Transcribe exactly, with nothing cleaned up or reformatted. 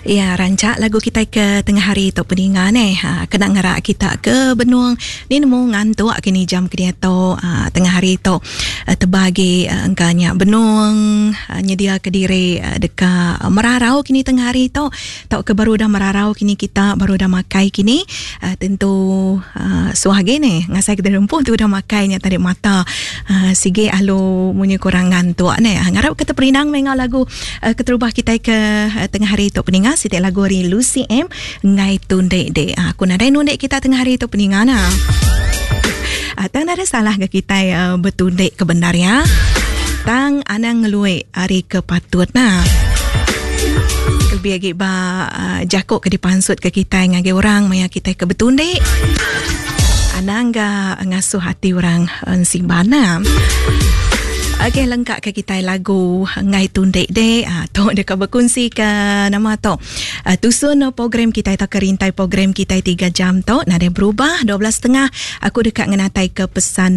Ya, rancak lagu kita ke tengah hari tu peninga neh. Ha, kena ngerak kita ke benung ni nemu ngantuk kini jam ke dia tu ha, tengah hari tu uh, terbagi uh, engkanya benung uh, nyedia ke diri uh, deka merarau kini tengah hari tu tau ke baru dah merarau kini kita baru dah makai kini uh, tentu uh, suah gini ngasai kita rempuh tu dah makainya tadi mata uh, sige alu munyi kurang ngantuk neh. Ha, ngarap kita perindang mengau lagu uh, keterubah kita ke uh, tengah hari tu peninga siti lagu ari Lucy M ngai tundek dek. Ha, aku nadai nundek kita tengah hari tu peninga nah. Ha, tang ada salah ke kita uh, betundek ke benar ya. Tang anang ngeluik hari ke patut nah. Lebih lagi ba uh, jakuk ke dipansut ke kita ngagi orang maya kita ke betundek. Anang ga ngasuh hati orang uh, simbana. Okey, lengkap ke kita lagu Ngai Tundek Dek. Ha, tu dekat berkongsi ke nama tu. Uh, tusun program kita atau kerintai program kita tiga jam tu. Nada berubah dua belas setengah. Aku dekat ngenatai ke pesan